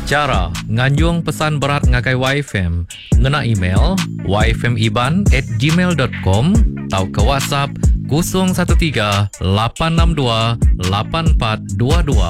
Chara nganjung pesan berat ngagai YFM ngena email yfmiban at gmail dot com tauka WhatsApp 013 862 8422.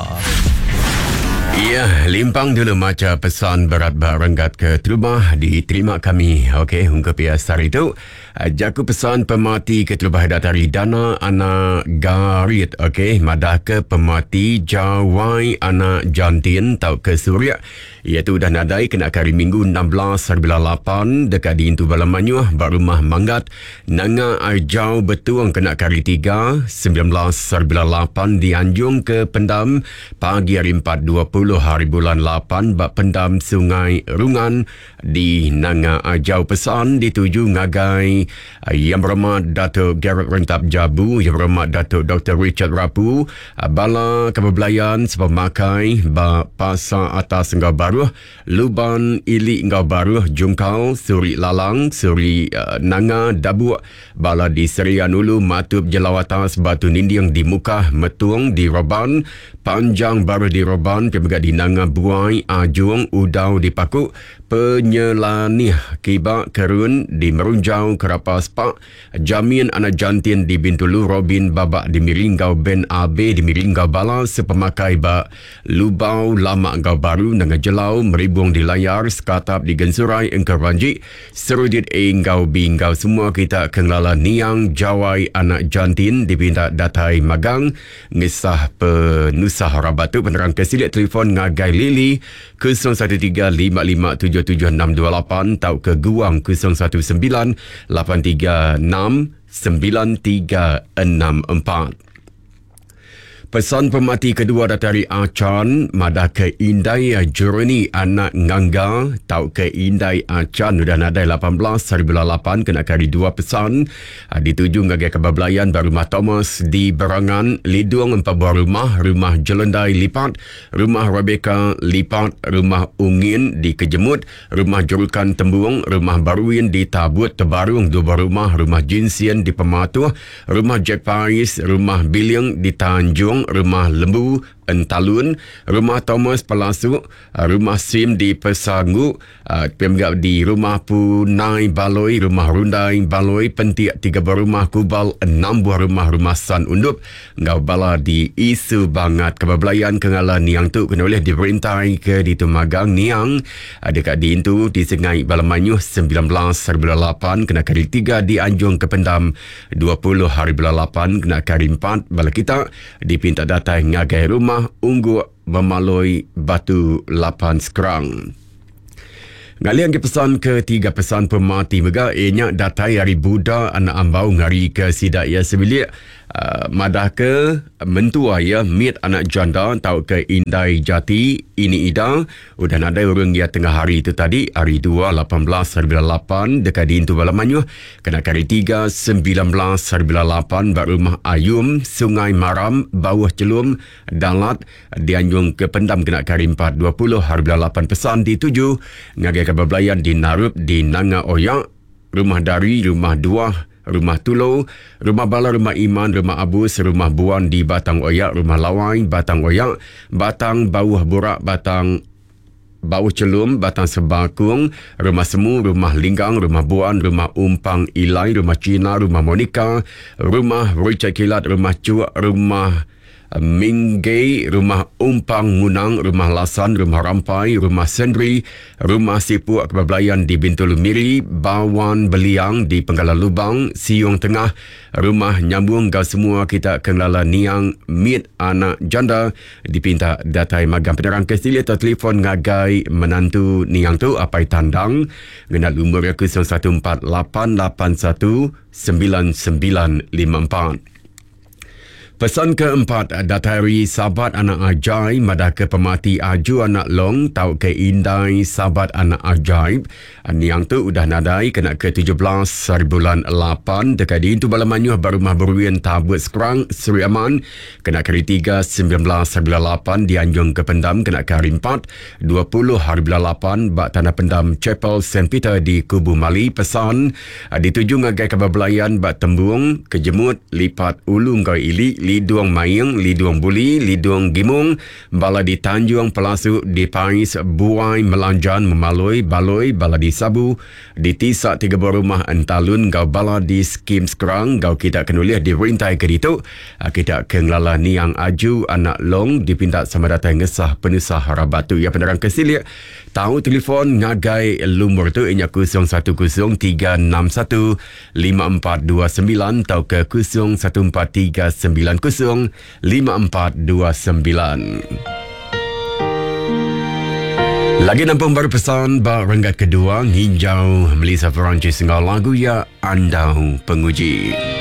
Ya, limpang dulu macha pesan berat ba renggat ke terubah diterima kami. Okey, ungkup iya sehari tu. Jaku pesan pemati keterubah datai ari Dana anak Garit ok madahka pemati Jawai anak Jantin tauka Surik iya tu udah nadai kena ke hari Minggu 16 hari bulan lapan deka diintu bala mayuh ba Rumah Manggat Nanga Ajau Betong kena ke hari Tiga 19 hari bulan lapan dianjung ke pendam pagi hari Empat 20 hari bulan lapan ba pendam Sungai Rungan Di Nanga Ajau pesan dituju ngagai Yang Berhormat Datuk Gerald Rentap Jabu, Yang Berhormat Datuk Doktor Richard Rapu, bala ke bebelayan sepemakai ba Pasar Atas enggau Baruh, Luban Ili enggau Baruh Jungkal, Suri Lalang, Suri Nanga Dabuk, bala di Serian Ulu, Matup Jelau Atas, Batu Ninding di Mukah, Metung di Roban, Panjang baruh di Roban ke mega di Nanga Buai, Ajung, Udau di Paku, Penyelanih, Kiba, Kerun di Merunjau, Kerapa Spak, Jamin Anak Jantin di Bintulu, Robin Babak di Miri enggau Ben Abe di Miri enggau bala sepemakai ba Lubau Lama enggau Baru, Nanga Jelau, Meribung di Layar, Sekatap di Gensurai, Engka Ranjik, Serudit A enggau B enggau semua kita ke ngelala Niang Jawai Anak Jantin dipinta datai magang. Ngesah penusah rabat tu penerang ke silik telefon ngagai Lily 0135577628 tauka guang 019 836 9364. Pesan pemati kedua datai ari Achan madah ke indai Jeroni anak Ngangga tauka indai Achan udah nadai 18 hari bulan 8 kena ke hari dua pesan Dituju ngagai Kaban Belayan ba Rumah Thomas di Berangan, Lidong empat buah rumah, Rumah Jelendai Lipat, Rumah Rebecca Lipat, Rumah Ungin di Kejemut, Rumah Jerukan Tembung, Rumah Baruin di Tabut Tebarung dua buah rumah, Rumah Jinsien di Pematuh, Rumah Jack Pais, Rumah Biling di Tanjung, Rumah Lembu Entalun, Rumah Thomas Pelasuk, Rumah Sim di Pesangu, Pia mega di Rumah Punai Baloi, Rumah Rundai Baloi, Pentik tiga buah rumah, Kubal enam buah rumah, Rumah San Undup enggau bala di Isu Bangat. Kaban belayan ke ngala niang tu kena ulih diperintai ke ditu magang niang deka diintu di Sengai Bala Mayuh 19 hari bulan lapan kena ke hari tiga dianjung ke pendam 20 hari bulan lapan kena ke hari empat bala kita dipinta datai ngagai Rumah Ungguk Memaloi Batu Lapan Skrang. Ngalih agi pesan ke tiga pesan pemati mega iya nya datai ari Buda anak Ambau ngarika sida iya sebilik uh, madahka mentua iya mit anak janda tauka indai jati ini ida Udah nadai urung iya tengah hari tu tadi, hari dua 18 hari bulan lapan deka diintu bala mayuh kena ke hari tiga 19 hari bulan lapan ba Rumah Ayum, Sungai Maram, Bauh Chelum, Dalat, dianjung ke pendam kena ke hari empat 20 hari bulan lapan pesan dituju ngagai kaban belayan di Narup di Nanga Oya, Rumah Dari, Rumah Duah, Rumah Tulo, Rumah Bala, Rumah Iman, Rumah Abus, Rumah Buan di Batang Oyak, Rumah Lawai, Batang Oyak, Batang Bauh Burak, Batang Bauh Chelum, Batang Sebakung, Rumah Semu, Rumah Linggang, Rumah Buan, Rumah Umpang Ilai, Rumah Cina, Rumah Monica, Rumah Richard Kilat, Rumah Chuk, Rumah Minggei, Rumah Umpang Munang, Rumah Lasan, Rumah Rampai, Rumah Sendri, Rumah Sipuk Kebablayan di Bintulu Miri, Bawan Beliang di Penggalan Lubang, Siung Tengah, Rumah Nyambung enggau semua kita ke ngelala niang mit anak janda dipinta datai magang penerang ke silik atau telefon ngagai menantu niang tu Apai Tandang ngena lumur iya 014 881 9954. Pesan keempat datai ari Sabat anak Ajai madahka pemati Aju anak Long tauka indai Sabat anak Ajaib. Niang tu udah nadai kena ke 17 hari bulan 8 deka diintu bala mayuh ba Rumah Beruin Tabut Skrang, Sri Aman kena ke hari 3 19 hari bulan 8 dianjung ke pendam kena ke hari 4 20 hari bulan 8 ba Tanah Pendam Chapel Saint Peter di Kubu Mali. Pesan dituju ngagai kaban belayan ba Tembung, Kejemut, Lipat Ulu enggau Ili. Lidung Maing, Lidung Buli, Lidung Gimung, bala di Tanjung Pelasu, di Pais, Buai, Melanjan, Memaloi, Baloi, bala di Sabu, di Tisa tiga buah rumah Entalun enggau bala di Skim Skrang enggau kita ke nulih di rintai ke ditu. Kita ke ngelala niang Aju anak Long dipinta sama datai ngesah penusah rabat tu. Iya penerang ke silik tau telefon ngagai lumur tu iya nya 010 361 5429 tauka 014 390 5429. Lagi nampung baru pesan ba renggat kedua nginjau Melissa Perancis enggau lagu iya Andau Penguji.